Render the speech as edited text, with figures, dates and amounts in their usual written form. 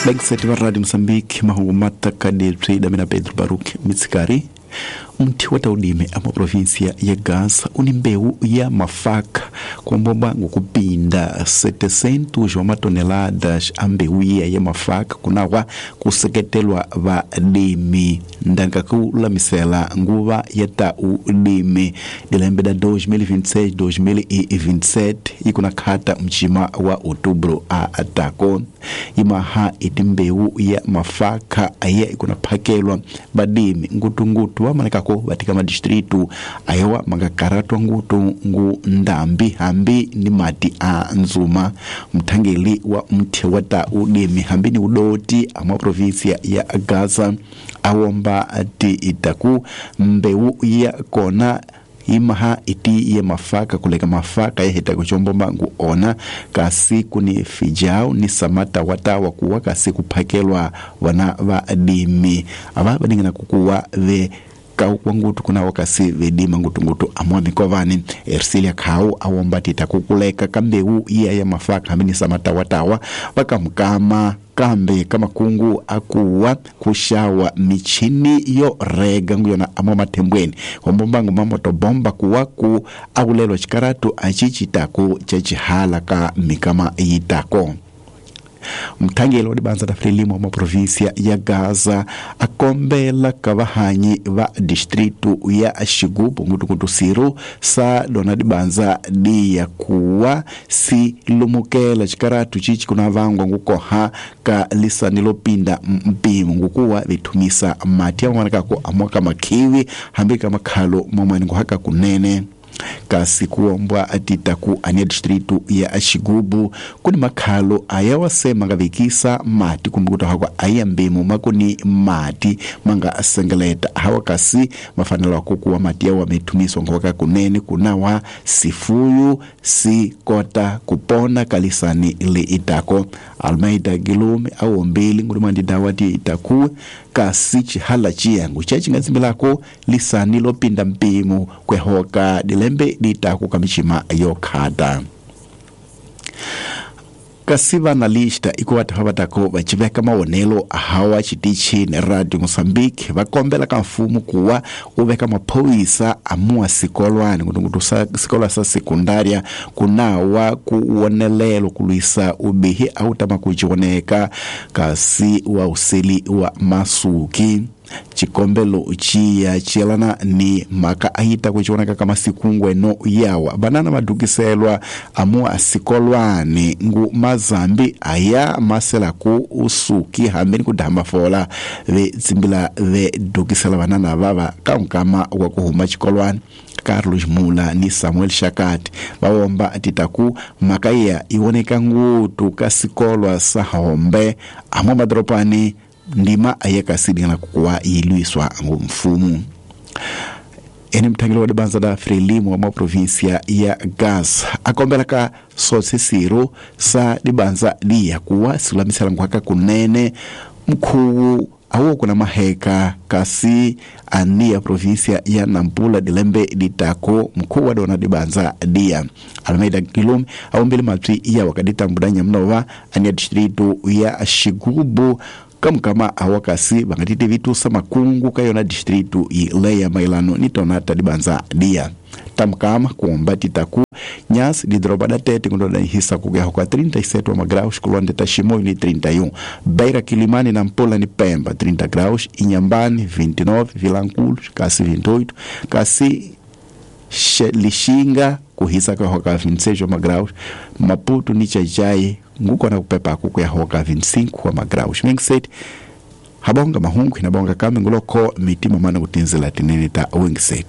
Vagiseti va Radio Mozambique, mahungu matakadebyi damina Pedro Baruch Mitsikari. Mthi wa taudime a província ya Gaza uni mbewu ya mafaka kuombomba ngokupinda 700 wa matoneladas a mbewu iya ya mafaka kunawa kuseketelwa valimi ndanga kulamisela nguva ya taulimi dilembe da 2026 2027 ikuna khata mchima wa outubro a atako imaha iti mbewu ya mafaka aya ikuna phakelwa badimi ngutungutu wamanekako vatika madistritu ayewa mangakaratwa ngutu ngu ndambi hambi ni mati a nzuma. Mthangeli wa mthi wa ta udimi hambi ni udoti amwa provinsia ya Gaza awomba ti itaku mbewu ya kona imaha iti ye mafaka kuleka mafaka yahita kuchombomba ngu ona kasi kuni fijao ni samata watawa kuwa kasi kuphakelwa wana vadimi ava vadingana kukuwa ve kwa ngutu kuna wakasi vedima ngutungutu amwa mikovani. Ersilia khau awomba tita kukuleka kambeu iya ya mafaka hamini samatawatawa vakamkama kambe kamakungu akuwa kushawa michini yo rega nguyona amwa mathembweni hombombangu mamotobomba kuwa ku akulelwa chikaratu achichitaku chachihala ka mikama yitako. Mthangeli wa dibanza ta Frelimo wa província ya Gaza akombela ka vahanyi va distritu ya Xigubu ngutungutu siru sa dona dibanza diya kuwa si lumukela chikaratu chichi kuna vangwa ngukoha ka lisani lopinda mpimo ngukuwa vithumisa mati awanakako amwaka makhiwi hambi ka makhalo mamwani nguhaka kunene kasi kuombwa atitaku ania distritu ya Xigubu kuni makhalo ayawasema ngavikisa mati kumbukuta hakwa aya mbimu makuni mati manga asengeleta hawa kasi mafanelo akukuwa mati yawa metumiswa ngwaka kunene kunawa sifuyu si kota kupona kalisani li itako. Almeida Gilume awombili ngulimandi dawati itaku kasi chihala chiyangu chachingatsimbilako lisani lopinda mpimo kwehoka dilembe ditaku kamichima yokhata. Kasi vanalista ikuva vatako vachiveka mawonelo ahawa chitichi ni Radio Mozambique vakombela ka mfumo kuwa uveka maphorisa amuwa sikolwani ngutungutu sikolwa sa sekundaria kunawa kuwonelelo kulwisa ubihi autama kuchioneka kasi wa useli wa masuki. Chikombelo chiya chielana ni maka aita kuchioneka kama sikungweno yawa banana madukiselwa amua sikolwani ngu mazambi aya masela ku usuki hambeni kudhamba fola ve tsimbila ve dukisela banana vava kankama wa kuhuma chikolwani. Carlos Mula ni Samuel Shakati vawomba atitaku makaya iwoneka ngutu kasikolwa sa hombe amwa madropani ndima ayekasidingana kukuwa ilwiswa ngumfumu. Ene mthangeli wa dibanza da Frelimo wa província ya Gaza akombela ka sosesiro sa dibanza diya kuwa silamisela nkwaka kunene mkhuwu awo kuna maheka kasi ania província ya Nampula dilembe ditako mkuu wa dona dibanza dia Almeida Gilume awombele mapsi iya wakaditambudanya mnova ania distritu ya Xigubu kamkama awakasi vangatite vitusa makungu kayona distritu ileya mailano ni tonata dibanza dia tamkama kuomba titaku nyasi didroba da tete kundodanihisa kugeho kwa 37 wa magraus kulonde tashimoyo ni 31 Beira Kilimani na Nampula ni Pemba 30 graus Inhambane 29 Vilanculos kasi 28 kasi Lixinga kuhisa kwa hoka 26 wa magraus Maputo ni Chajai nguko na kupepa kuku ya hoka 25 wa magraus Mengset habonga mahungu inabonga kame nguloko mitima mana kutinzela tinene ta Wingset.